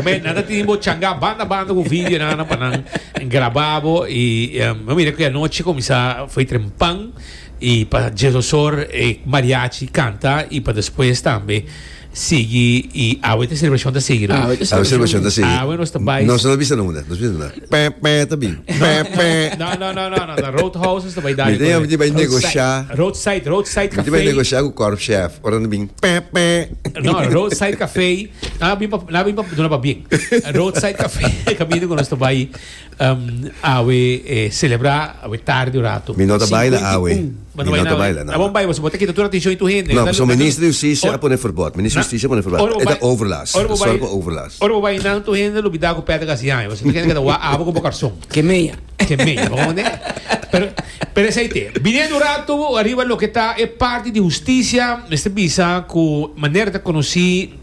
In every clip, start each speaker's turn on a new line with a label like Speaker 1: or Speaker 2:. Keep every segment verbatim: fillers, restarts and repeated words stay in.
Speaker 1: Ke men nan ta tin bo changa banda banda ku video nan pa nan graba bo i um, mira ku anochi kuminsá for trempan i pa diesdos or e mariachi kanta i pa despues tambe sigui i awe e selebrashon ta sigui.
Speaker 2: Awe ta
Speaker 3: A selebrashon ta sigui.
Speaker 1: Awe nos ta bai.
Speaker 3: Nos no bisa nada, nos bisa nada. Pe pe ta bin. Pe pe.
Speaker 1: No, no, no, no, no. The Roadhouse ta bai
Speaker 3: Mi tin mi bai negoshá.
Speaker 1: Roadside, Roadside
Speaker 3: Mi bai
Speaker 1: Café.
Speaker 3: Negoshá ku korpschef. Ora no bin. Pe pe.
Speaker 1: No, Roadside Café. Na bin pa na bin pa duna pa bien. Roadside Café kaminda ku nos ta bai um, awe eh, selebrá awe tardi un ratu.
Speaker 3: Mi no ta baila awe. Mi no ta baila,
Speaker 1: no. Bon bai, bo ta kita tur atenshon di tur hende.
Speaker 3: No, so minister di Hustisia a pone verbod. Minister di Hustisia a pone verbod.
Speaker 1: Ora
Speaker 3: E ta overlast.
Speaker 1: Ora
Speaker 3: Zorg pa overlast.
Speaker 1: Ora bai nan tur hende lubidá ku Patrick hasi aña. Bo kende keda wak abo ku bo karson.
Speaker 2: Ke meia.
Speaker 1: Ke meia, bo ne? Pero pero esei te. Biniendo un rato ariba loke ta e parti di hustisia, mester bisa ku manera ta konosí,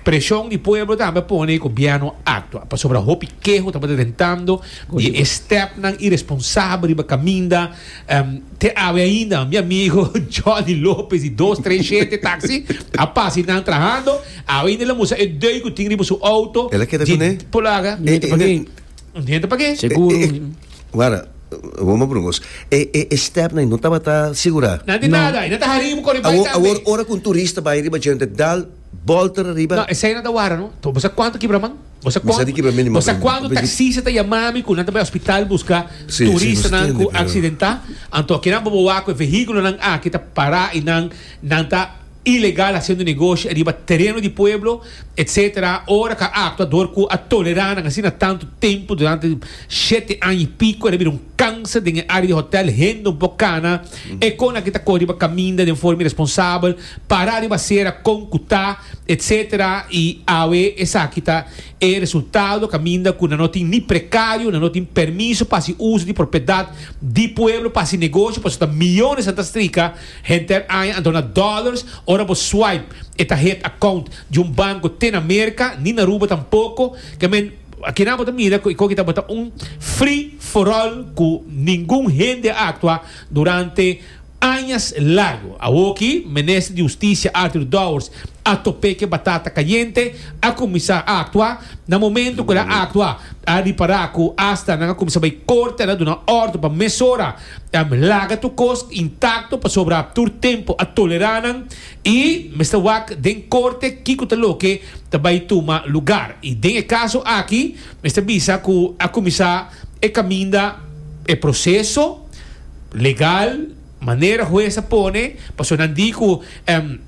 Speaker 1: preshon di pueblo tambe pone gobièrnu aktua. Pasobra hopi keho tabata tentando di e stepnan irresponsabel riba kaminda. Um, te awe ainda, mi amigo Johnny Lopez di dos tres shete taxi, a pasa nan trahando, awe ainda el a mustra e deuk ku tin riba su auto.
Speaker 3: El a keda
Speaker 1: Di
Speaker 3: kuné?
Speaker 1: Polaga.
Speaker 3: Eh, eh,
Speaker 2: Pagué.
Speaker 1: Hende pa
Speaker 2: Seguro.
Speaker 3: Eh, eh, Guarda, vamos brungos. E e e step nan no tabata sigurá.
Speaker 1: Nada di nada, e no ta harim kore bai
Speaker 3: Awor
Speaker 1: tambe.
Speaker 3: Awor ora ku un turista bai riba djente dal bolter riba.
Speaker 1: No, esei no ta wara, no? To, bo sa kuantu kibra man? Bo sa
Speaker 3: Mi sa
Speaker 1: kuantu,
Speaker 3: di kibra mínimo,
Speaker 1: bo sa
Speaker 3: pero-
Speaker 1: kuantu taxista ta yama mi ku nan ta bai hospital buska
Speaker 3: Si, si,
Speaker 1: turistanan
Speaker 3: nos
Speaker 1: ku
Speaker 3: tende, pero-
Speaker 1: aksidentá. Anto akinan bo wak e vehíkulonan aki ta pará i nan nan ta ilegal hasiendo negoshi riba tereno di pueblo, et cetera. Ora ku a aktua dor ku a tolerá nan asina tantu tempu durante shete aña i piko, el a bira un kanser den e área di hotel, hende un poko kana, e kon aki ta kore riba kaminda den forma irresponsabel, pará riba sera kon ku ta, et cetera. I awe esaki ta e resultado, kaminda ku nan no tin ni prekario, nan no tin permiso pa hasi uso di propiedat di pueblo, pa hasi negoshi, pasobra ta miyones nan ta strika henter aña, anto na dollars, ora bo swipe, e ta hit account di un banko te na Amerika, ni na Aruba tampoko, ke men akinan bo ta mira ku ku ta bota un free for all ku ningun hende aktua durante añas largo. Awoki, minister di Hustisia Arthur Dowers a topa ku batata kayente, a kuminsá aktua, na momento ku el a aktua, a ripará ku hasta nan a kuminsá bai korte, a duna òrdu pa mesora, um, laga tur kos intakto pasobra tur tempu a tolerá nan i mester wak den korte kiko ta loke ta bai tuma lugá. I den e kaso aki, mester bisa ku a kuminsá e kaminda e proseso legal manera hues a pone paso nan di ku um,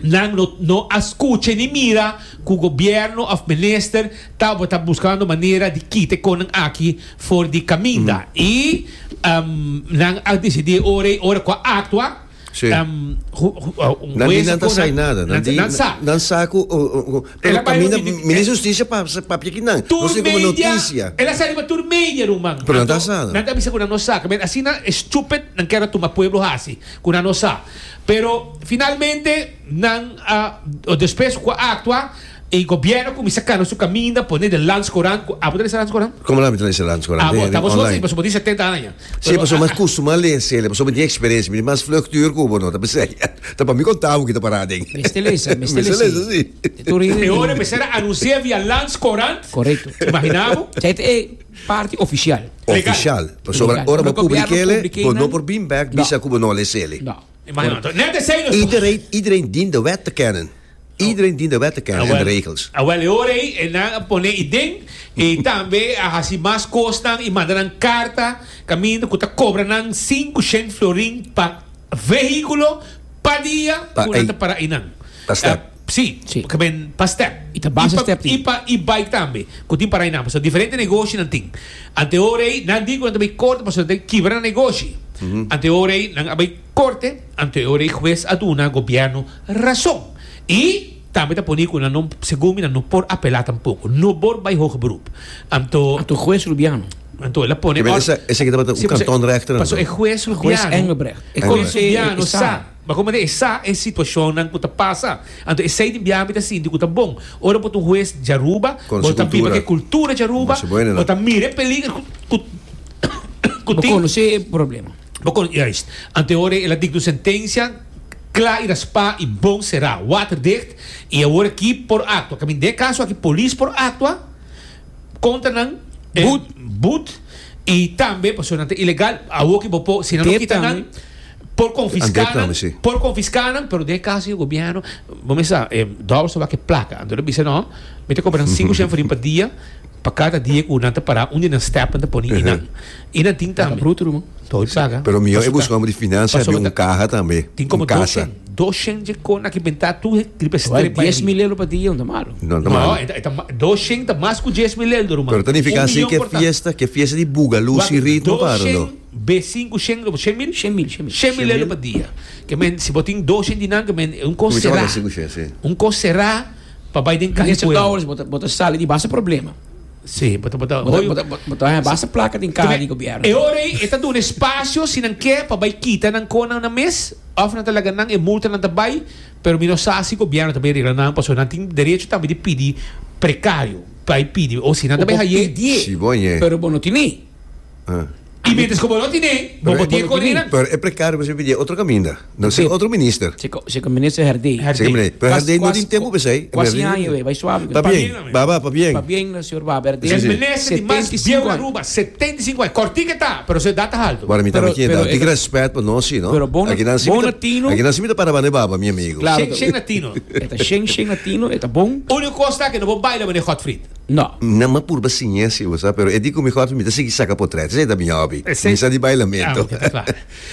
Speaker 1: nan no, no a skucha ni mira ku gobièrnu òf minister tabata buskando manera di kita kon aki for di kaminda i um, nan a disidí ora ora ku a aktua
Speaker 3: Si.
Speaker 1: um, hu, hu, uh, un
Speaker 3: Nan di
Speaker 1: hues
Speaker 3: nan ta
Speaker 1: kon-
Speaker 3: sai nada. Nan
Speaker 1: nan,
Speaker 3: di
Speaker 1: nan sa
Speaker 3: nan sa ku o- o- o-
Speaker 1: El
Speaker 3: pero
Speaker 1: a bai
Speaker 3: kaminda
Speaker 1: no di-
Speaker 3: minister di Hustisia pa papia akinan.
Speaker 1: Tur
Speaker 3: No sé komo
Speaker 1: media,
Speaker 3: notisia.
Speaker 1: el a sali pa tur media, ruman.
Speaker 3: Pero nan ta
Speaker 1: Anto,
Speaker 3: sa.
Speaker 1: Nan ta bisa ku nan no sa. Men, asina stupid nan kier tuma pueblo hasi, ku nan no sa. Pero finalmente nan a despues ku a aktua e gobièrnu a kuminsá kana su kaminda pone den Landscourant, ku abo ta lesa Landscourant?
Speaker 3: Komo la mi ta lesa Landscourant?
Speaker 1: Ah, bo, ta bos
Speaker 3: Online.
Speaker 1: pasobra bo tin setenta aña.
Speaker 3: Si, pasobra mas kustumá lesa, pasobra mi tin eksperensia, mi mas vlug tuur ku bo no, ta pensei. Ta pa mi konta bo ki ta pará den.
Speaker 2: Mester lesa, mester
Speaker 3: Mester
Speaker 2: lesa.
Speaker 3: lesa, si.
Speaker 2: Tur hende
Speaker 1: E ora mester a anunsiá via Landscourant.
Speaker 2: Korekto.
Speaker 1: Imaginá bo?
Speaker 2: Esei ta e parti ofisial.
Speaker 1: Legal.
Speaker 3: Ofisial. Pasobra
Speaker 2: Legal.
Speaker 3: ora bo
Speaker 2: Ora gobièrnu
Speaker 3: publik'é,
Speaker 2: publik'é
Speaker 3: bo no
Speaker 2: nan-
Speaker 3: por bin back
Speaker 2: No.
Speaker 3: bisa ku bo no les'é.
Speaker 2: No.
Speaker 1: Imagina. Net esei nos
Speaker 3: Iedereen, iedereen dient de wet te kennen. Iedereen dient de wet te kennen en de regels.
Speaker 1: Ah, wel, e ora ei, e nan a pone i den, i tambe a hasi mas kosnan i manda nan karta, kaminda ku ta kobra nan sinku florin pa vehíkulo pa dia
Speaker 3: Pa
Speaker 1: ku nan
Speaker 3: ei.
Speaker 1: ta para einan.
Speaker 3: Pa step.
Speaker 1: Eh, si,
Speaker 2: Si.
Speaker 1: ke men pa step.
Speaker 2: I ta base
Speaker 1: I pa-
Speaker 2: step tin.
Speaker 1: I pa i bike tambe, ku tin para einan. So diferente negoshi nan tin. Ante ora ei, nan di ku nan ta bai korte, pasobra nan ta kibra nan negoshi. Ante ora ei, nan a bai korte, ante ora ei hues a duna gobièrnu rason. I tambe ta pone ku nan no, segun mi, nan no por apelá tampoko. No por bai hoger beroep. Anto,
Speaker 2: Anto hues Rubiano.
Speaker 1: Anto el a pone
Speaker 3: Ke men esa esa ki tabata un
Speaker 1: Si, paso-
Speaker 3: kantonrechter.
Speaker 1: Paso e hues
Speaker 2: Hues
Speaker 1: Rubiano.
Speaker 2: Engelbrecht.
Speaker 1: E hues
Speaker 2: Engelbrecht.
Speaker 1: Rubiano
Speaker 2: E sa.
Speaker 1: sa. Ma komo e sa e situashonnan ku ta pasa. Anto esei di biaha mi ta sinti ku ta bon. Ora bo ta un hues di Aruba,
Speaker 3: Kon
Speaker 1: bo
Speaker 3: su
Speaker 1: ta biba
Speaker 3: kultura.
Speaker 1: ku kultura di Aruba,
Speaker 3: Masha bueno, no?
Speaker 1: bo ta mira e peliger ku ku ku
Speaker 2: Bo
Speaker 1: tin
Speaker 2: konosé e problema.
Speaker 1: Bo kon juist. Ante ora el a dikta un sentensia. Kla i raspá i bon será, waterdicht, i awor aki por aktua. Kaminda den e kaso aki polis por aktua kontra nan,
Speaker 2: Boet.
Speaker 1: Boet, i tambe pasobra nan ta ilegal, awor ki bo por, si nan no
Speaker 2: Tep
Speaker 1: kita nan,
Speaker 2: tambe.
Speaker 1: Por konfiská
Speaker 3: Andep
Speaker 1: nan,
Speaker 3: tambe, si.
Speaker 1: Por konfiská nan, pero den e kaso di gobièrnu, bo mester sa, dòbel so wak e plaka. Anto nan bisa no, mi ta kobra nan sinku shen florin pa dia, pa kada dia ku nan ta pará un di nan stèpnan ta pone i nan. I nan tin
Speaker 2: Ta
Speaker 1: tambe.
Speaker 2: bruto, ruman.
Speaker 1: Toi paga.
Speaker 3: Pero mihó e
Speaker 1: Pasobra
Speaker 3: busca homem de finança,
Speaker 1: pasobra
Speaker 3: un
Speaker 1: ta-
Speaker 3: caja tambe.
Speaker 1: Tin como
Speaker 3: Un casa.
Speaker 1: dos dos shen de kona que bentá tu riba
Speaker 2: Vai,
Speaker 1: strip
Speaker 2: dies mil euro pa dia, no ta malo.
Speaker 3: No, no,
Speaker 1: No,
Speaker 3: malo.
Speaker 1: e ta- e ta ma- dos shen ta mas ku dies mil euro, ruman.
Speaker 3: Pero ta nifica
Speaker 1: Un
Speaker 3: así
Speaker 1: milhão
Speaker 3: que
Speaker 1: por ta-
Speaker 3: fiesta, que fiesta di bugalú
Speaker 1: Wak,
Speaker 3: sin ritmo
Speaker 1: dos
Speaker 3: para,
Speaker 1: shen,
Speaker 3: no?
Speaker 1: B cinco shen, no, shen mil?
Speaker 2: Shen mil, shen mil.
Speaker 1: Shen mil euro pa dia. Ke men, si bo tin dos shen di nan, ke men, un kos
Speaker 3: Comienza
Speaker 1: será.
Speaker 3: con cinco shen, sí.
Speaker 1: Un kos será pa bai den kaha
Speaker 2: Minister
Speaker 1: pueblo.
Speaker 2: Dowers, bo ta, bo ta sali di basta problema.
Speaker 1: Sí, bota, bota,
Speaker 2: Bota,
Speaker 1: hoy-
Speaker 2: bota, bota, basta placa den kaha di gobièrnu.
Speaker 1: E ora ei, e ta duna espasio si nan ke pa bai kita nan kona na mes, òf nan ta laga nan e multa nan ta bai, pero mi no sa si gobièrnu ta bai regla nan, pasobra nan tin derecho tambe di pidi prekario, bai pidi, o si nan ta bai
Speaker 2: O
Speaker 1: haye.
Speaker 2: pidi,
Speaker 3: Si, bon, ye.
Speaker 2: pero bo no tini.
Speaker 3: Ah.
Speaker 1: I mientras ku bo no tini, bo
Speaker 3: Pero
Speaker 1: bo tin
Speaker 2: bo no tini.
Speaker 1: kone nan.
Speaker 3: Pero e prekario bo pidi otro kaminda. No
Speaker 2: Sí.
Speaker 3: sé, otro minister.
Speaker 2: Se ko, se ko minister Herdé.
Speaker 1: Herdé.
Speaker 3: Sí, hombre, pero
Speaker 2: Quase-
Speaker 3: Herdé no
Speaker 2: quase-
Speaker 3: tin tempu p'esei.
Speaker 2: Quase aña, wey, bai suave.
Speaker 3: Pa
Speaker 1: bien,
Speaker 3: bien, baba, pa bien.
Speaker 2: Pa bien, señor Baba Herdé.
Speaker 1: El
Speaker 3: Sí, sí.
Speaker 1: minister di mas
Speaker 2: setenta i sinku
Speaker 1: bieu na
Speaker 2: aña.
Speaker 1: Aruba, setenta i sinku aña. Kortiko ta, pero su edat ta alto.
Speaker 3: Bueno, mi
Speaker 2: Pero-
Speaker 3: tambe
Speaker 2: pero-
Speaker 3: tin respet pa nos, sí, no?
Speaker 2: Pero bon-
Speaker 3: Aki nan
Speaker 2: bon latino.
Speaker 3: Aki nan si mi ta para bane baba, mi amigo.
Speaker 2: Claro.
Speaker 1: Shen, shen latino.
Speaker 2: E ta shen, shen latino, e ta bon.
Speaker 1: Úniko kos ta ku no por baila meneer Godfried.
Speaker 2: No.
Speaker 3: No, ma purba siña, si, bo sa, pero e di ku mi Godfried mi ta sigui saka potret, esei ta mi hobby.
Speaker 1: Esei-
Speaker 3: Mi sa di bailamento.
Speaker 1: Ah, ok, ta kla.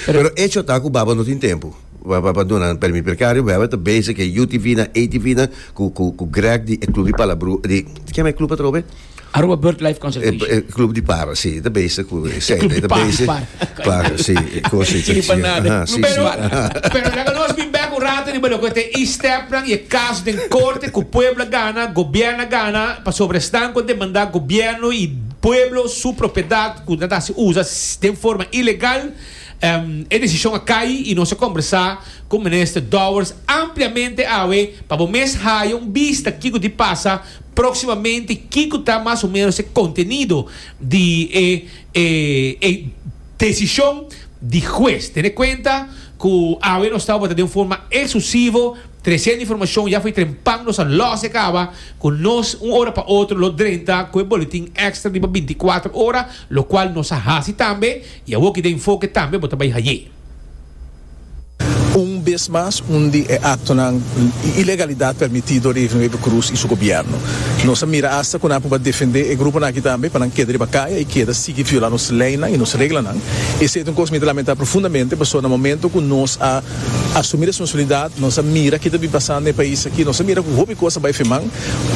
Speaker 3: Pero hecho ta ku baba no tin tempu. Baba pa duna permit prekario, baba ta bezig ku U T V na A T V na ku ku ku Greg di e club di Palabru, di kema e club atrobe?
Speaker 2: Aruba Bird Life
Speaker 3: E,
Speaker 2: Conservation.
Speaker 3: e, club di para, si, ta bezig ku sí,
Speaker 1: Club di
Speaker 3: ta
Speaker 1: para.
Speaker 3: bezig.
Speaker 2: Para.
Speaker 3: Para, si, kos si,
Speaker 2: Hindi pa nada.
Speaker 3: Aha, si,
Speaker 1: Pero,
Speaker 3: si.
Speaker 1: pero laga nos bin bek un rato riba loke ta e stepnan i e kaso den korte ku pueblo a gana, gobièrnu a gana, pasobra esnan ku a demandá gobièrnu i pueblo su propiedat ku nan ta usa den forma ilegal. Um, e desishon a kai i nos a kombersá ku minister Dowers ampliamente awe pa bo mes haya un bista kiko ta pasa próksimamente, kiko ta mas o ménos e kontenido di eh, eh, eh, desishon di hues. Tene kuenta ku awe nos tabata di un forma eksklusivo tresiendo informashon ya for di trempan nos a los kaba ku nos un ora pa otro lo drenta ku e boletin extra di binti kuater ora, lo kual nos a hasi tambe i awor ku den Enfoke tambe bo ta bai haye.
Speaker 4: Un bes mas, un di e aktonan ilegalidat permití dor di Wever Croes i su gobièrnu. Nos a mira hasta ku nan a defendé e gruponan aki tambe pa nan keda riba kaya i keda sigui violá nos leinan i nos reglanan. Esei ta un kos ku mi ta lamentá profundamente, pasobra na momento ku nos a asumí responsabilidat, nos a mira kiko ta pasando den e pais aki, nos a mira ku hopi kos a bai fe man,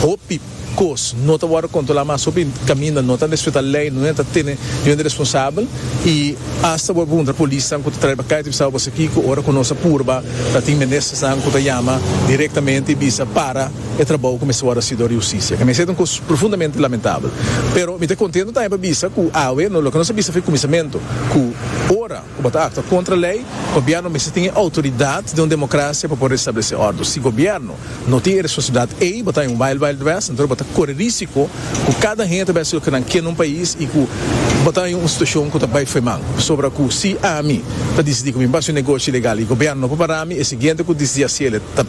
Speaker 4: hopi kos no ta wòrdu kontrolá mas, hopi kaminda no ta respetá lei, no ta tene niun responsabel i hasta bo puntra polis ku ta traha kaya ta bisa aki ku ora ku nos a purba ta tin ministernan ku ta yama direktamente i bisa para e trabou kuminsá awor hasi dor di hustisia. Ku mi ta un kos profundamente lamentabel. Pero mi ta kontentu tambe pa bisa ku awe, no, loke nos a bisa for di kuminsamentu, ku ora ku bo ta aktua kontra lei, gobièrnu mester tin outoridat di un demokrasia pa por establesé òrdu. Si gobièrnu no tin responsabilidat, ei bo ta un wild wild west, anto bo ta kore risiko ku kada hende bai hasi loke nan ke den un pais i ku bo ta un situashon ku ta bai fe man. Sobra ku si ami ta disidí ku mi bai hasi un negoshi ilegal i gobièrnu no por para mi, e siguiente ku disidí hasi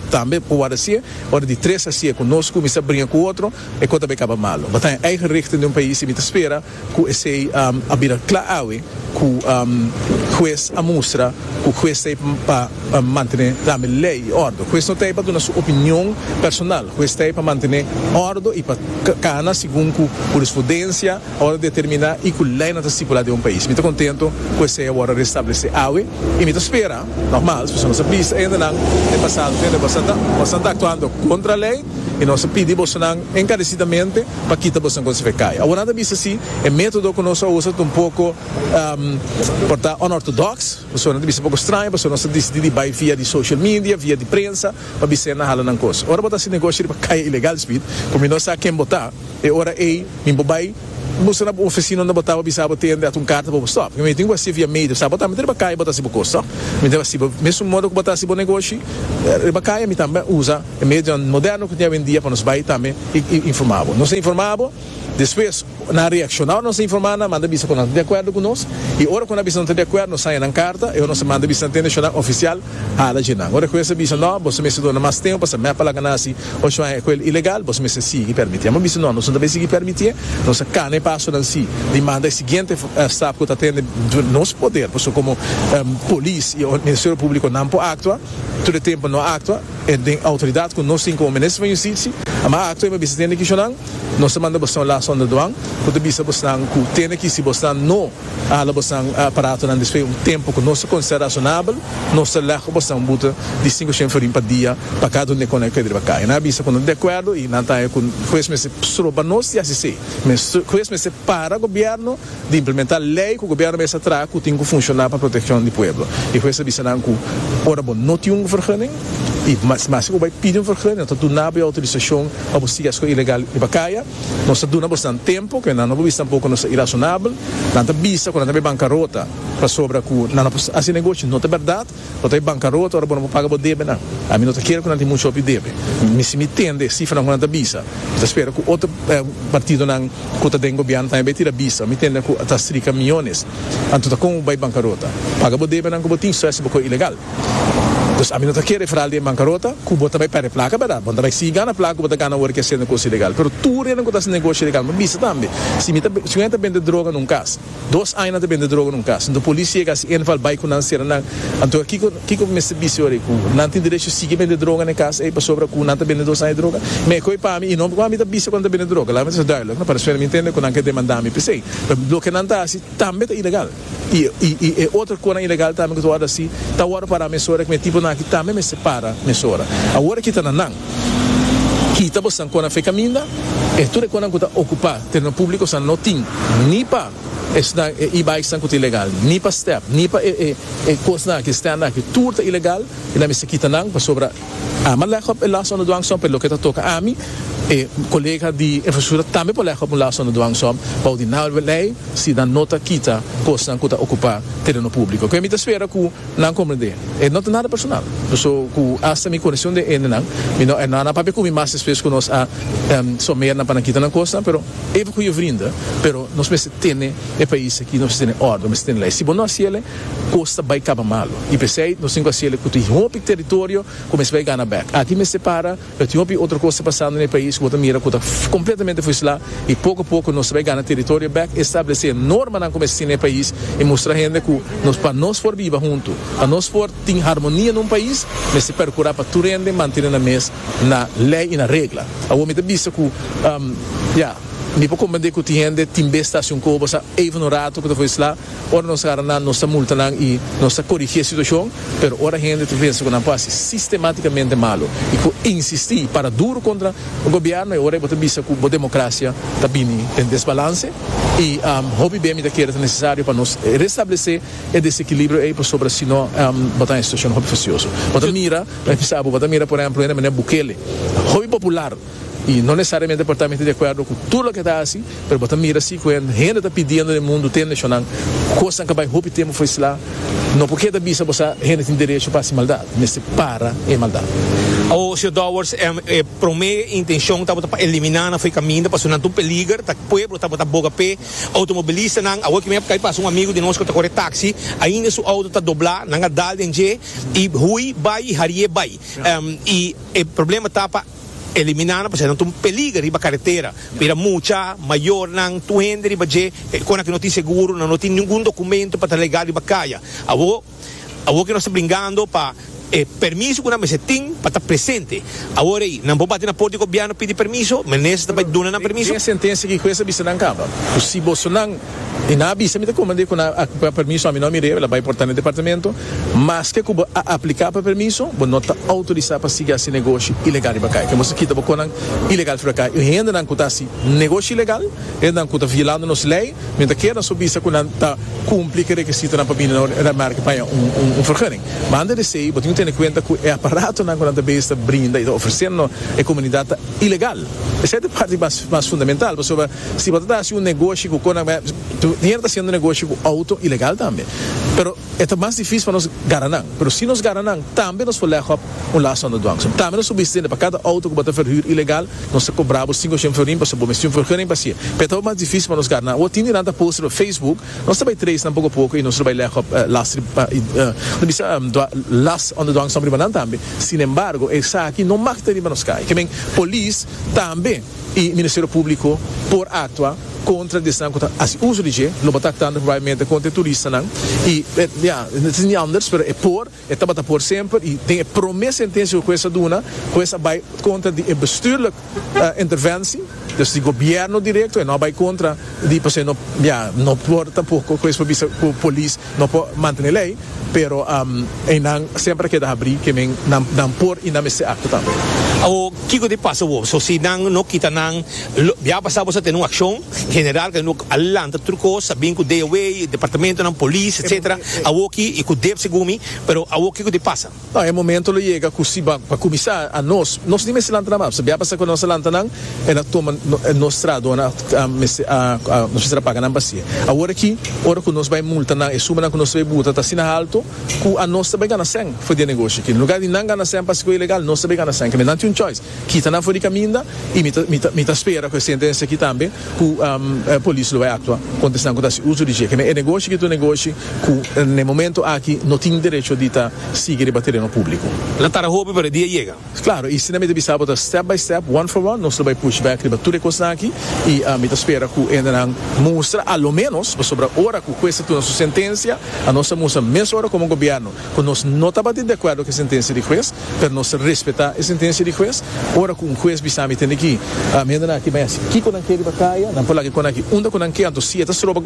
Speaker 4: tambe por hasi, ora di tres hasi ku nos kuminsá bringa ku otro, e kos ta bai kaba malu. Bo ta eigen richting di un pais i mi ta spera ku esei um, a bira kla awe ku um, hues a mustra ku hues ta pa pa mantené tambe lei i òrdu. Hues no ta pa duna su opinion personal. Hues ta pa mantené òrdu i pa kana segun ku hurisprudensia a wòrdu determiná i ku lei ta stipulá den un pais. Mi ta kontentu ku esei a wòrdu restablesé awe i mi ta spera, normal, si nos a bisa ainda nan den pasado, ainda bastante, bastante aktuando kontra lei i nos a pidi bosonan enkaresidamente pa kita bosonan kos for di kaya. Awor nan a bisa si e método ku nos a usa un poko um, por ta unorthodox, bosonan a bisa poko straño, bosonan nos a disidí di bai via di social media, via di prensa, pa bisa nan hala nan kos. Ora bo ta hasi negoshi riba kaya ilegal speed, komo nos sa ken bo ta, e ora ei, mi por bai boso na ofisina na botava bisa botende at un karta pa stop. Mi tin ku hasi via medio, sabe, bota mi riba kaya bota si bo kos, mi tin hasi mesmo modo ku bota si bo negoshi, riba kaya mi tambe usa e medio moderno ku tin awendia pa nos bai tambe i, i informá bo. Nos a informá bo, despues Na reakshoná nos informá, manda bisa ku nan di akuerdo ku nos, i ora ku nan bisa no ta di akuerdo, nos haña nan karta, i nos manda bisa internashonal ofisial, hala dje nan. Ora ku bisa no, boso mester duna mas tempu, pa me pa laga hasi ocho aña ku ilegal, boso mester sigui permití. Ma bisa no, nos no ta sigui permití, nos kana paso nan si, di manda e siguiente uh, stap ku ta den nos poder, pasobra komo um, polis i Ministerio Públiko no por aktua, tur tempu no aktua, i den outoridat ku nos tin komo minister di Hustisia, ma aktua i bisa tende ku nos a manda boso last onder dwang, ku ta bisa boso ku tende ku si boso no hala boso aparato nan despues un tempu ku nos konsiderá rasonabel, nos ta leg boso un boete di sinku shen florin pa dia pa kada un ku ta riba kaya. Nan bisa ku di akuerdo i nan ta ku hues mester stroba nos di hasi, hues mester para gobièrnu di implementá lei ku gobièrnu mester traha ku tin ku funshoná pa protekshon di pueblo. I hues bisa nan ku ora bo no tin un vergunning i mas mas ku bai pidi un vergunning, ta duna outorisashon pa bo sigui ilegal riba kaya, nos ta duna boso tempu, ku nan no bisa tampoko nos irasonabel, nan ta bisa ku nan ta bankarota pasobra ku nan hasi negoshi, no ta berdat, bo ta bankarota ora bo no paga bo debe nan. Ami no ta kere ku nan tin muchu hopi debe. Mi si mi tende sifra nan ta bisa. Ta spera ku otro eh, partido nan ku ta den gobièrnu tambe tira bisa. Mi tende ku ta strika miónes. Anto ta kon bai bankarota? Paga bo debe nan ku bo tin, so bo ilegal. Dus ami no ta kere vooral di bankarota, ku bo ta bai pèrdè plaka, berdat? Bo ta bai sigui gana plaka, bo ta gana ora ku hasi negoshi ilegal. Pero tur hende ku ta hasi negoshi ilegal, ma bisa tambe. Si mi ta si mi ta bende droga den kas, dos aña ta bende droga den kas, anto polis yega hasi inval bai ku nan sera nan. Anto kiko kiko mester bisa ora ku nan tin derecho sigui bende droga na kas, e pasobra ku nan ta bende dos aña droga. Me koi pa mi i no pa mi ta bisa ku nan ta bende droga. Laat me duidelijk, no para mi entende ku nan ke demandá mi p'esei. Pero loke nan ta hasi tambe ta ilegal. I i i e otro kos ilegal tambe ku ta hasi, ta ora para mesora ku mi tipo na aki tambe mester para mesora. Awor aki ta na nan. Kita boso kos for di kaminda, e tur kos ku ta okupá tereno públiko sa no tin ni pa esnan e-bikes ku ta ilegal, ni pa step, ni pa e e e kos nan ku stand aki, tur ta ilegal, i nan mester kita nan pasobra ami a leg op e last onder dwangsom, pero loke ta toka ami, e kolega di infrastruktura tambe por leg op un last onder dwangsom, pa di nou lei, si nan no ta kita kos ku ta okupá tereno públiko. Ku mi ta spera ku nan komprendé. E no ta nada personal. So ku hasta mi konekshon de ene nan, mi no e nada papia ku mi mas despues ku nos a um, sommeer nan pa nan kita nan kos, pero even goede vrienden, pero nos mester tene e pais aki, nos tene òrdu, nos tene lei. Si bo no hasié, kos ta bai kaba malu. I p'esei, nos tin ku hasié ku tin hopi teritorio, kuminsá bai gana bèk. Aki mester para, pero tin hopi otro kos pasando na e pais, ku mira ku ta kompletamente fusilá i poko poko nos bai gana teritorio bèk, establesé norma nan kuminsá na e pais i mustra hende ku nos pa nos por biba huntu, pa nos por tin harmonia den un pais, mester perkurá pa tur hende mantené nan mes na lei i na regla. Awor mi ta bisa ku um, ja, mi por komprendé ku tin hende tin bes un kobo sa even un ratu ku ta fusilá, ora nos gara nan, nos ta multa nan i nos ta korigí e situashon, pero ora hende ta pensa ku nan por hasi sistemátikamente malu i ku insistí para duru kontra e gobièrnu, i ora bo ta bisa ku e demokrasia ta bini den desbalanse i um, hopi bem ta kere nesesario pa nos restablesé e desekilibrio ei pasobra sino um, bo ta den un situashon hopi fastioso. Bo ta mira, bai pensa, bo ta mira por ehèmpel, manera Bukele, hopi popular i no nesesariamente por ta di akuerdo ku tur loke ta asina, pero bo ta mira asina ku hende ta pidiendo na mundu tende nan kos ku bai hopi tempu fusilá, no porque ta bisa bo hende tin derecho pa maldat, mester para e maldat.
Speaker 1: O señor Dowers, eh, eh, promé intenshon tabata pa eliminá nan for di kaminda, pa nan ta un peliger, ta pueblo tabata boga p'e, outomobilista nan, awor ku mi kai pasa un amigu di nos ku ta kore taxi, ainda su outo ta doblá, nan a dal den dje i hui bai harie bai. Um, i e problema ta pa eliminá nan, pasobra nan ta un peliger riba karetera. Pira mucha, mayor nan, tur hende riba dje, ku no tin seguro, no tin ningun dokumento pa ta legal riba kaya. Awor, awor ku nos ta bringando pa eh, permiso ku nan mester tin pa ta presente. Awor ei, nan por bati na porta di gobièrnu pidi permiso, minister ta bai duna nan permiso.
Speaker 4: Tin sentensia ku hues a bisa nan kaba. Si boso nan i nan a bisa mi ta komprendé ku a permiso ami no mir'é, el a bai porta na departamento, mas ku bo a apliká pa permiso, bo no ta outorisá pa sigui hasi negoshi ilegal riba kaya. Ku boso kita bo kosnan ilegal for kaya. I hende nan ku ta hasi negoshi ilegal, hende nan ku ta violando nos lei, mientras ku nan bisa ku nan ta kumpli ku rekisito nan pa bini na merka pa un un, un vergunning. Ma antes di esei, bo tin ku tene kuenta ku e aparato nan ku nan ta brinda i ta ofresiendo e komunidat ilegal. Esei ta e parti mas mas fundamental, pasobra si bo ta un negoshi ku Tin hende ta hasiendo negoshi ku outo ilegal tambe. Pero ta mas difísil pa nos gara nan. Pero si nos gara nan, tambe nos por leg op un last zonder dwangsom. Tambe nos por bisa pa kada outo ku bo ta verhuur ilegal, nos ta kobra sinku florin pa bo mester un vergunning pa hasi. Pero ta mas difísil pa nos gara nan. O tin nan ta post op Facebook, nos ta bai trace nan poko poko i nos ta bai leg op last bisa last zonder dwangsom riba nan tambe. Sin embargo, esaki no mag ta riba nos kaya. Ke men polis tambe i Ministerio Públiko por aktua kontra esnan ku ta hasi uso di dje, lo ta aktuando probablemente kontra turistanan i, ja, het is niet anders, pero e por, e tabata por semper i tin e promé sentensia ku hues a duna, hues a bai kontra di bestuurlijk uh, interventie, dus di gobièrnu direkto, i no bai kontra di, pues, no, ja, no por tampoko, hues por bisa ku polis no por mantené lei, pero um, e nan semper keda habrí ke men nan, nan por i nan mester aktua tambe.
Speaker 5: O kiko ta pasa wo? So si nan no kita nan, ya pasá bo tin un akshon general ku no a lanta tur kos, sabi ku D O W, departamento nan polis, et cetera. Awoki i ku D E P segun mi, pero awo kiko ta pasa?
Speaker 4: No, e momento lo yega ku si pa kuminsá a nos, nos ni mester lanta nan, sabi pasa ku nos lanta nan, e na toma nos trado na a nos mester paga nan basia. Awor aki, ora ku nos bai multa nan, e suma nan ku nos bai buta ta asina altu, ku anos tambe gana sen for di negoshi aki. Na lugá di nan gana sen pa ilegal, nos tambe gana sen. Ke men nan tin un choice. Kita nan for di kaminda i mi ta mi ta mi ta spera ku e sentensia aki tambe ku um, polis lo bai aktua kontra esnan ku ta uso di dje. Ke men e negoshi ku ta negoshi ku na momento aki no tin derecho di ta sigui riba tereno públiko.
Speaker 5: Lo tarda hopi, pero dia yega.
Speaker 4: Klaro, i asina mi ta bisa step by step, one for one, nos bai push back riba tur kos aki i uh, mi ta spera ku nan mustra a lo menos sobre ora ku hues a duna su sentensia, anos a mustra mesora komo gobièrnu ku nos no tabata di akuerdo ku e sentensia di hues, pero nos ta respetá e sentensia di hues. Ora ku un hues bisa mi tende aki, uh, mi anda aki, mas kiko nan ke riba kaya, nan por laga kon aki, unda ku nan ke, anto si ta stroba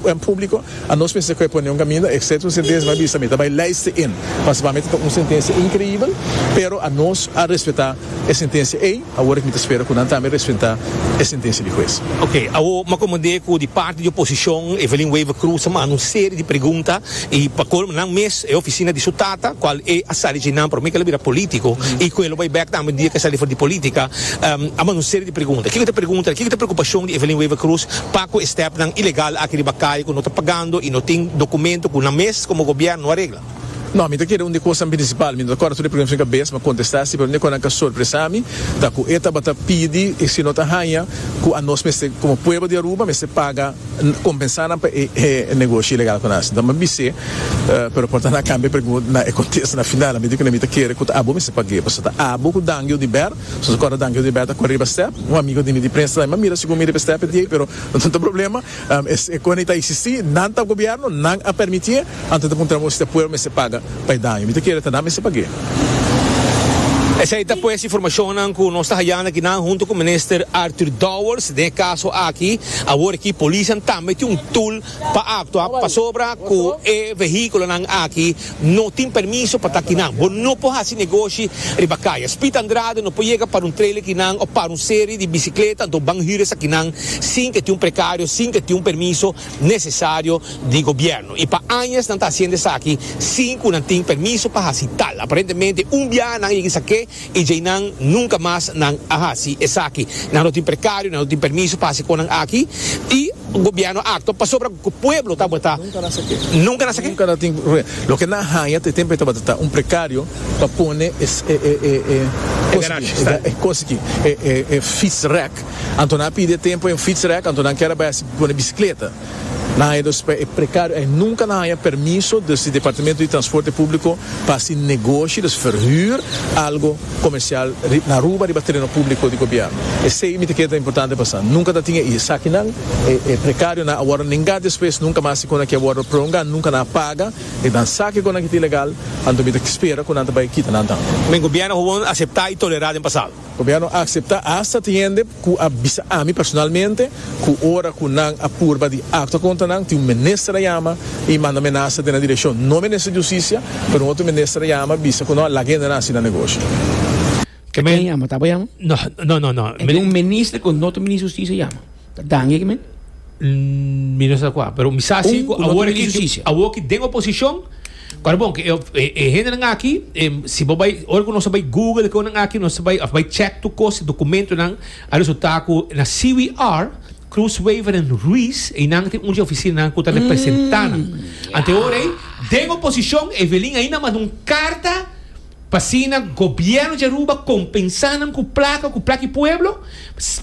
Speaker 4: en públiko, anos mester ku pone un kaminda, etcétera. Un sentensia bai bisa mi, bai lijst in. Mas pa mi un sentensia inkreibel, pero anos a respetá e sentensia ei, awor mi ta spera ku nan tambe respetá e sentensia di hues.
Speaker 5: Ok, awo m'a komprondé ku di parti di oposishon, Evelyn Wever-Croes a manda un serie di pregunta i pa kolmo nan mes e ofisina di su tata, kual e a sali di nan, promé ku el a bira polítiko, i ku el bai back tambe dia ku el a sali for di polítika, um, a manda un serie di pregunta. Kiko ta pregunta? Kiko ta preokupashon di Evelyn Wever-Croes pa ku e stèpnan ilegal aki riba kaya ku no ta pagando i no tin dokumento ku nan mes komo gobièrnu no a regla?
Speaker 4: No, mi ta kere un di kos prinsipal, mi no ta kòrda tur e pregunta na kabes, m'a kontestá si, pero un di kos ku a sorprendé mi, ta ku e tabata pidi e si no ta haña ku anos mester komo pueblo di Aruba mester paga kompensá pa e, e negoshi ilegal ku nos. Anto m'a bis'é, pero por ta nan a kambia pregunta na e kontesta na final, mi di ku mi ta kere ku abo mester paga, pasobra ta abo ku Dangel di Ber, so kòrda Dangel di Ber ta kore riba step, un amigu di mi di prensa, m'a mira segun mi riba step di, pero no tin problema, um, es, e kon ta eksistí, nan ta gobièrnu, nan a permití, anto ta puntra si pueblo mester paga pa e daño. Mi ta kere ta nan mester paga.
Speaker 5: Esei ta pues informashon ku nos ta hayando aki nan huntu ku minister Arthur Dowers, den kaso aki, awor aki polis tambe tin un tool pa aktua pasobra ku e vehíkulonan aki no tin permiso pa ta akinan. Bo no por hasi negoshi riba kaya. Speed Andrade no por yega para un trailer akinan òf para un serie di bisikleta, anto ban hür esakinan sin ku tin un prekario, sin ku tin un permiso nesesario di gobièrnu. I pa aña nan ta hasiendo esaki sin ku nan tin permiso pa hasi tal. Aparentemente un biaha nan a saka i ya nan nunka mas nan a hasi esaki. Nan no tin prekario, nan no tin permiso pa hasi kos aki i gobièrnu a aktua pasobra ku pueblo tabata
Speaker 4: Nunka nan a saka.
Speaker 5: Nunka nan a saka.
Speaker 4: Nunka nan tin. Loke nan a haña te tempu tabata un prekario pa pone es e e e e
Speaker 5: E garage, está.
Speaker 4: E kos aki, e e e fietsrek. Anto nan a pidi tempu un fietsrek, anto nan kier bai pone bisikleta. Nan e dus e prekario e nunka nan a haña permiso di Departamento di Transporte Públiko pa hasi negoshi, dus verhuur algu komersial na Aruba riba tereno públiko di gobièrnu. Esei mi ta kere importante pasa. Nunka ta tin esakinan e, e prekario nan a wòrdu nenga despues, nunka mas kon aki a wòrdu prolongá, nunka nan a paga e dan sake kon aki ilegal, anto mi ta spera ku nan ta bai kita nan tambe.
Speaker 5: Men gobièrnu gewoon aseptá i tolerá den pasado.
Speaker 4: Gobièrnu a aseptá, hasta tin hende ku a bisa ami personalmente ku ora ku nan a purba di aktua kontra nan, tin un minister a yama i manda menasa den direkshon. No minister di hustisia, pero un otro minister a yama bisa ku no laga nan hasi negoshi.
Speaker 1: Ke
Speaker 2: Ken yama? Ta yama?
Speaker 1: No, no, no, no.
Speaker 2: E un minister ku no ta minister di hustisia yama. Ta dange ke men?
Speaker 1: Mm, Mi no sa kua, pero mi sa si
Speaker 2: Un, ku no
Speaker 1: awor
Speaker 2: ta
Speaker 1: aki
Speaker 2: minister di hustisia.
Speaker 1: Awor aki den oposishon. Awor bon, ku e e hendenan aki, si bo bai, ora ku nos bai Google ku nan aki, nos bai of bai check tur kos dokumentonan, a resultá ku na C W R Cruz Wever en Ruiz y nan tin un oficina nan ku ta representá nan. Anto ora ei, den oposishon, Evelyn ainda a manda un karta pa asina gobièrnu di Aruba kompensá nan ku plaka, ku plaka di pueblo,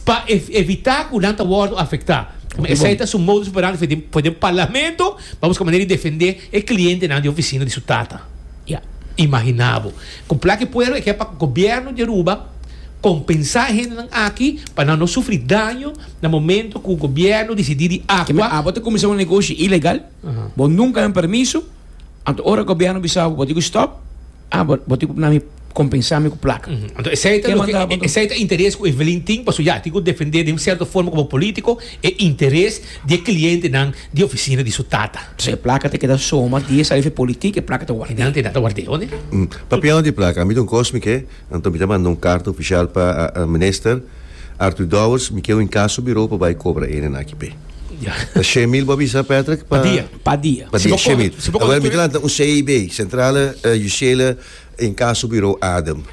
Speaker 1: pa evitá ku nan ta wòrdu afektá. Esei ta su modus operandi for den, for den parlamento, pa buska manera di defendé e klientenan di ofisina di su tata.
Speaker 2: Ja.
Speaker 1: Imaginá bo. Ku plaka di pueblo e ke pa gobièrnu di Aruba kompensá e hendenan aki pa nan no sufri daño na momento ku gobièrnu disidí di
Speaker 2: Keme
Speaker 1: aktua.
Speaker 2: Abo ta kuminsá un negoshi ilegal, bo nunka haña permiso, anto ora gobièrnu bisa bo bo tin ku stòp, ah bo bo tin ku na mi kompensá mi ku plaka.
Speaker 1: Anto esei ta
Speaker 2: Ke
Speaker 1: loke
Speaker 2: manda bo anto?
Speaker 1: esei ta interes ku Evelyn tin, pasobra ya tin ku defendé den un sierto forma komo polítiko e interes di e klientenan di ofisina di su tata.
Speaker 2: Entonces e plaka ta keda soma di e sali fe politik e plaka ta
Speaker 1: E
Speaker 2: ward'é.
Speaker 1: nan ta ward'é, o ne?
Speaker 3: Papiando di plaka, mi ta un kos mi ke, anto mi ta manda un karta ofishal pa Minister Arthur Dowers, mi ke un inkaso biro pa bai kobra e nan aki p'e. Ta shen mil bo a bisa, Patrick?
Speaker 1: Pa dia.
Speaker 2: Pa dia.
Speaker 3: Pa dia, shen mil. Awel mi ta lanta un C I B, Centrale Justitiële Incasso Bureau Adem.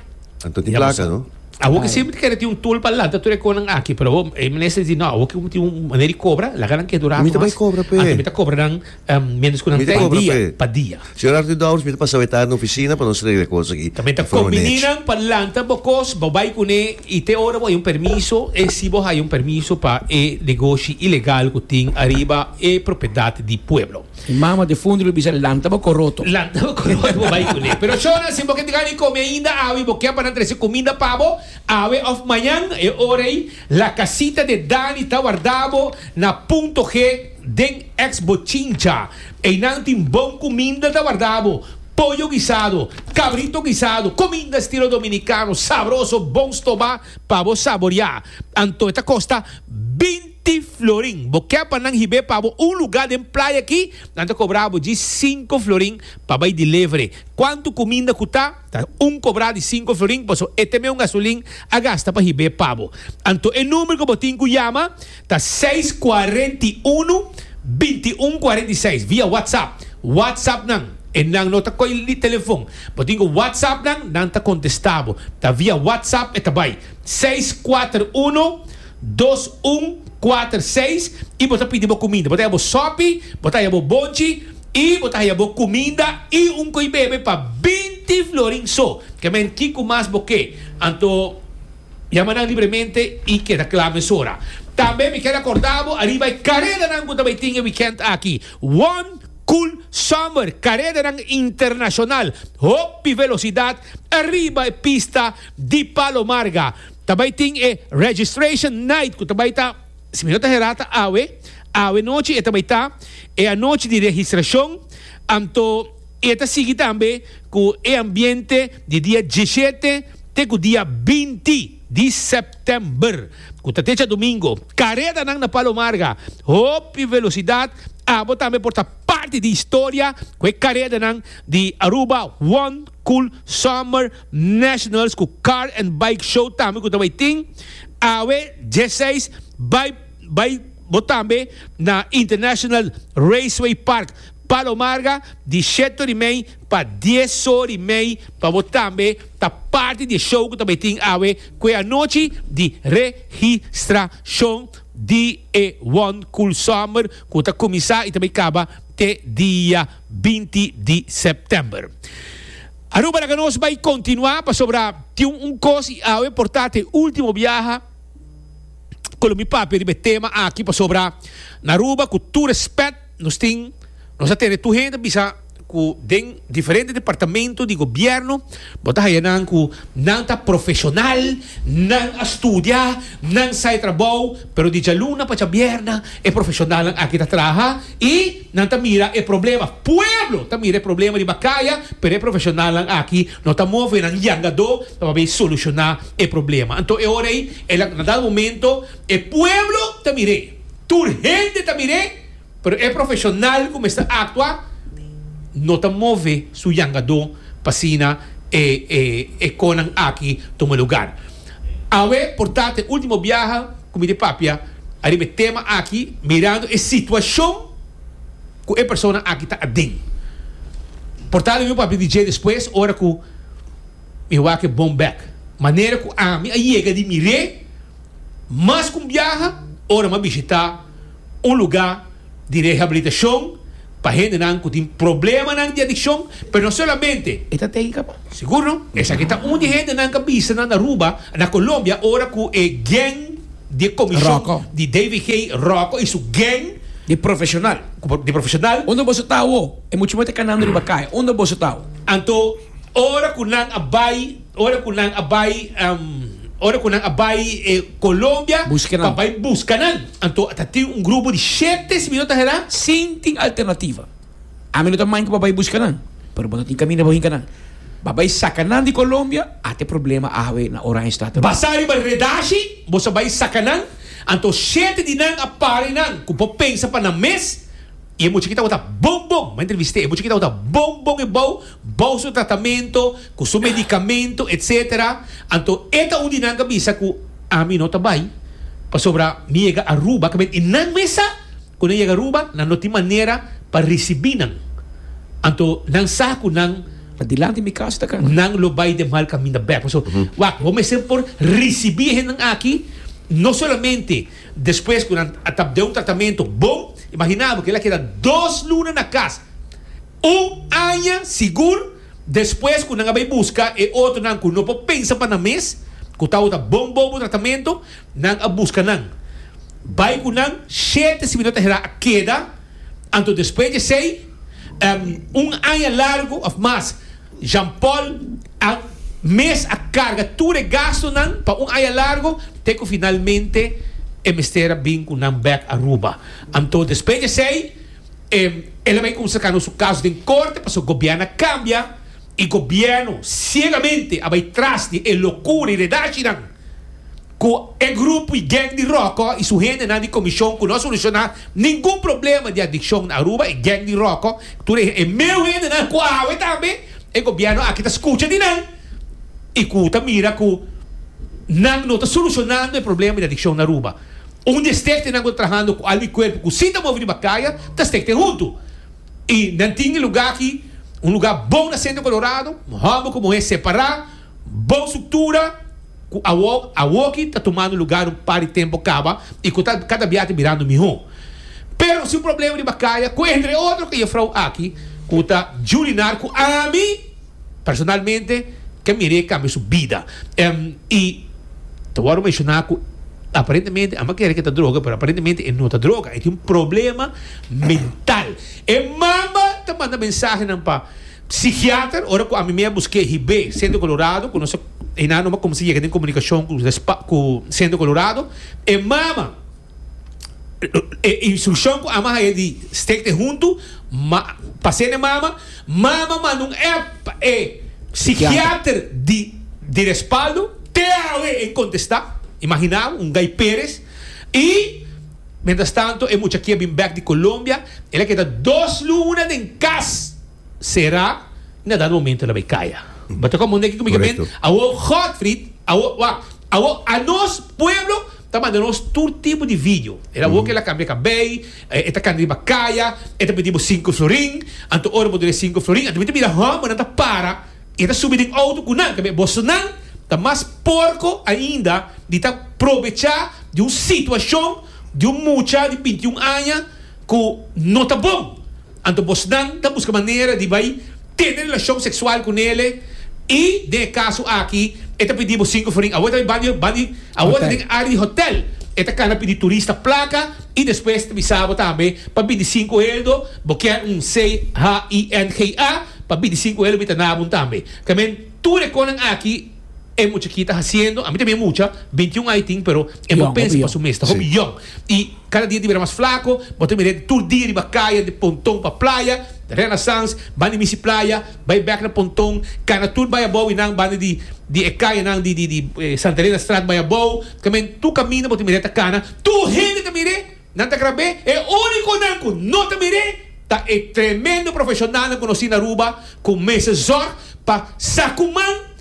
Speaker 3: Anto tin plaka, no?
Speaker 1: Awor ke semper kere tin un tool pa lanta tur e konan aki, pero awor e minister di no, awor ke tin un manera di kobra, laga nan keda un rato
Speaker 3: Mi ta bai
Speaker 1: mas.
Speaker 3: kobra p'e.
Speaker 1: Anto mi ta kobra nan mientras ku nan
Speaker 3: Mi ta
Speaker 1: ta
Speaker 3: kobra
Speaker 1: dia,
Speaker 3: p'e.
Speaker 1: pa dia.
Speaker 3: Señor Arthur Dowers, mi ta pasa wetá na ofisina pa nos regla e kos aki
Speaker 1: Tambe ta
Speaker 3: di forma
Speaker 1: kombiní
Speaker 3: nech.
Speaker 1: nan pa lanta bo kos, bo bai kuné i te ora bo hay un permiso, e si bo hay un permiso pa e negoshi ilegal ku tin ariba e propiedat di pueblo.
Speaker 2: Mi mama defuntu lo bisa lanta bo koroto.
Speaker 1: Lanta bo koroto bo bai kuné. Pero shona, si bo ke tin gana di kome ainda awe i bo ke pa nan trese kuminda pa bo, awe òf mañan, e ora ei La Casita de Dani ta warda bo na Punto G den ex Bochincha. Einan tin bon kuminda ta warda bo, pollo guisado, cabrito guisado, kuminda estilo dominicano, sabroso, bon stobá pa bo saboriá. Anto e ta kosta binti florin. Bo ke pa nan hib'é pa bo un lugá den playa aki, nan ta kobra bo djis sinku florin pa bai delivery. Kuantu kuminda ku ta, ta un kobrá di sinku florin, paso e te meun gasolin a gasta pa hib'é pa bo. Anto e number ku bo tin ku yama ta seis kuarenta i unu, binti un kuarenta i seis via WhatsApp. WhatsApp nan, e nan no ta koy li telefon. Bo tin ku WhatsApp nan, nan ta kontestá bo. Ta via WhatsApp e ta bai. Seis kuater unu, dos un kuater seis i bo ta pidi bo kuminda. Bo ta haya bo sòpi, bo ta haya bo bonchi i bo ta haya bo kuminda i un ko'i bebe pa binti florin so. Ke men kiko mas bo ke? Anto yama nan libremente i keda kla mesora. Tambe mi kier akorda bo ariba e karedanan ku ta bai tin e wikènt aki. One Cool Summer, karedanan internashonal, hopi velosidat ariba e pista di Palo Marga. Ta bai tin e Registration Night ku ta bai ta, si mi no ta hera ta awe, awe nochi e ta bai ta e anochi di registrashon, anto e ta sigui tambe ku e ambiente di dia diesshete te ku dia binti di sèptèmber, ku ta te djadumingo. Karedanan na Palo Marga, hopi velosidat, abo tambe por ta parti di historia ku e karedanan di Aruba One Cool Summer Nationals ku Car and Bike Show tambe ku ta bai tin awe diesseis. Bai bai bo tambe na International Raceway Park Palo Marga di shete ora i mei pa dies ora i mei pa bo tambe ta parti di e show ku ta bai tin awe ku e anochi di registrashon di e One Cool Summer ku ta kuminsá i ta bai kaba te dia binti di sèptèmber. Aruba laga nos bai kontinuá pasobra tin un kos i awe por ta te último biaha ku lo mi papia riba e tema aki pasobra na Aruba ku tur respèt nos tin nos a tene tur hende bisa ku den diferente departamento di gobierno bo ta haya nan ku nan ta profesional, nan a studia, nan sa e trabou, pero di djaluna pa djabierna e profesionalnan aki ta traha i nan ta mira e problema. Pueblo ta mira e problema riba kaya, pero e profesionalnan aki no ta move nan yangadó pa bay soluciona e problema. Anto e ora ei, el a, na dado momento e pueblo ta mir'é, tur hende ta mir'é, pero e profesional ku mester aktua no ta move su yangadó pa asina e, e, e konan aki tuma lugar. Awe por ta e último biaha ku mi di papia ariba e tema aki mirando e situashon ku e persona aki ta aden. Por ta lo mi papia di dje despues ora ku mi wak e bon bek. Manera ku ami a yega di mir'é mas ku un biaha. Ora m'a bishitá un lugá di rehabilitashon pa hendenan ku tin problemanan di adikshon, pero no solamente.
Speaker 2: E ta téknika pa.
Speaker 1: Sigur no? Esaki ta un di hendenan ku a bisa na Aruba, na Colombia, ora ku e gang di komishon
Speaker 2: Rocco.
Speaker 1: Di David G. Rocco i su gang
Speaker 2: Di profeshonal.
Speaker 1: Di profeshonal.
Speaker 2: Unda boso ta awo? E mucha muhé ta kanando riba kaya. Unda boso ta awo?
Speaker 1: Anto ora ku nan a bai, ora ku nan a bai, um, ora ku nan a bai eh, Colombia,
Speaker 2: Buska nan.
Speaker 1: Pa bai buska nan. Anto ta tin un grupo di shete, si mi no ta erá.
Speaker 2: Sin tin alternativa. Ami no ta mind ku bo bai buska nan, pero bo no tin kaminda bo hinka nan. Bo bai saka nan di Colombia, ate problema awe na Oranjestad.
Speaker 1: Basá riba redashi, boso a bai saka nan, anto shete di nan a para nan ku por pensa pa nan mes, i e mucha ki tabata bon bon, m'a entrevist'é, e mucha ki tabata bon bon e bou, bou su tratamento, ku su medikamento, etcetera. Anto e ta un di nan ku a bisa ku ami no ta bai, pasobra mi yega Aruba, ke men i nan mes sa ku nan yega Aruba, nan no tin manera pa risibí nan. Anto nan sa ku nan.
Speaker 2: Pa dilanti mi kas ta kana.
Speaker 1: Nan lo bai den mal kaminda bèk. Pasobra, wak, bo mester por risibí e hendenan aki, no solamente despues ku nan a tap den un tratamentu bon, imaginá bo ku el a keda dos luna na kas, un aña sigur despues ku nan a bai buska e otronan ku no por pensa pa nan mes, ku tabata bon bon bo tratamentu, nan a buska nan. Bai ku nan, shete si mi no ta hera a keda, anto despues di esei, Un aña largu of mas, Jean Paul a mes a carga tur e gastonan pa un aña largu te cu finalmente e mester a bin cu nan bek Aruba. Anto despues di esey el a bay cuminsa cana su caso den corte pasobra gobierno a cambia y gobierno ciegamente a bay tras di e locura y redashinan. Ku e grupo i gang di Rocco i su hendenan di komishon ku no a solushoná ningun problema di adikshon na Aruba, e gang di Rocco, tur e e meu hendenan ku awe tambe e gobièrnu aki ta skucha di nan i ku ta mira ku nan no ta solushonando e problema di adikshon na Aruba. Un di e stektenan ku ta trahando ku alma i kuerpo ku si ta move riba kaya ta stekte huntu i nan tin e lugá aki, un lugá bon na Sentro Colorado, hòmber ku muhé separá, bon struktura. Ku awor awoki ta tumando lugar un par di tempo kaba i ku ta kada bia ta birando mihó. Pero si un problema riba kaya ku entre otro ku e jefrou aki ku ta Julinar ku ami personalmente ke mir'é kambia su bida. I ta wòrdu menshoná ku aparentemente ami a kere ke ta droga pero aparentemente e no ta droga e tin un problema mental. E mama ta manda mensahenan pa psikiater ora ku ami mi a busk'é hib'é Centro Colorado ku nos a Einan no a kumsa yega den komunikashon ku ku Centro Colorado. E mama, e instrukshon ku ama haya di stek te huntu, ma pas'é na e mama, mama manda un app pa e psikiater di di Respaldo, te awe e kontestá, imaginá bo, un Guy Perez, i mientras tanto e mucha aki a bin bèk di Colombia, el a keda dos luna den kas. Será na dado momento el a bai kaya. Bo ta komprende kiko mi ke men? Awor Godfried, awor wak, awor anos pueblo ta manda nos tur tipo di video. El awor ke el a kambia kabei, e ta kanda riba kaya, e ta pidi bo sinku florin, anto ora bo duna e sinku florin, anto mi ta mira hòmbernan ta para i e ta subi den outo ku nan. Kambia bosonan ta mas porko ainda di ta probechá di un situashon di un mucha di binti un aña ku no ta bon. Anto bosnan ta buska manera di bai tene relashon seksual ku nele i den e kaso aki e ta pidi bo sinku florin. Awor ta bai banda di awor ta den área di hotel. E ta kana pidi turista plaka i despues ta bisa bo tambe pa bini sinku heldo bo kier un C H I N G A pa bini sinku heldo mi ta na bo tambe. Kamen tur e konan aki e mucha ki ta hasiendo, ami tambe mucha, bintiun aña tin, pero e no
Speaker 2: Yong,
Speaker 1: pensa
Speaker 2: hopi
Speaker 1: pa
Speaker 2: yong.
Speaker 1: su mes, ta hopi yong. I kada dia ta bira mas flako, bo ta mir'é tur dia riba kaya di Ponton pa playa, Renaissance, banda di Misi Playa, bai bèk na Ponton, kana tur bai abou i nan banda di di e kayanan di di di Santa Elena Straat bai abou, kamen tur kaminda bo ta mir'é ta kana, tur hende ta mir'é, nan ta grab'é, e únikonan ku no ta mir'é ta e tremendo profeshonalnan konosí na Aruba ku mester zòrg pa sa ku man.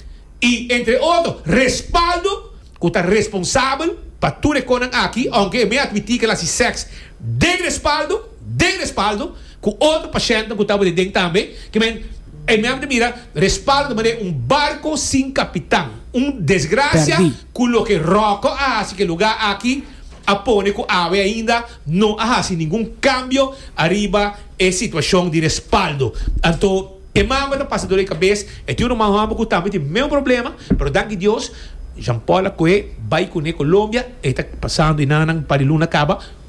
Speaker 1: I entre otro Respaldo ku ta responsabel pa tur e konan aki, ounke e me atmití ku el hasi sèks den Respaldo, den Respaldo, ku otro pashèntnan ku tabata den tambe, ke men e me ta mira Respaldo ta manera un barko sin kapitan, un desgrasia
Speaker 2: Pèrdí.
Speaker 1: ku loke Rocco a hasi ku e lugá aki. A pone ku awe ainda no a hasi ningun kambio ariba e situashon di respaldo. Anto, e mama ta pasa dor di kabes, e tin un mama ku tambe tin mesun problema, pero danki Dios, Jean Paul a kue bai kuné Colombia, e ta pasando einan pa luna kaba.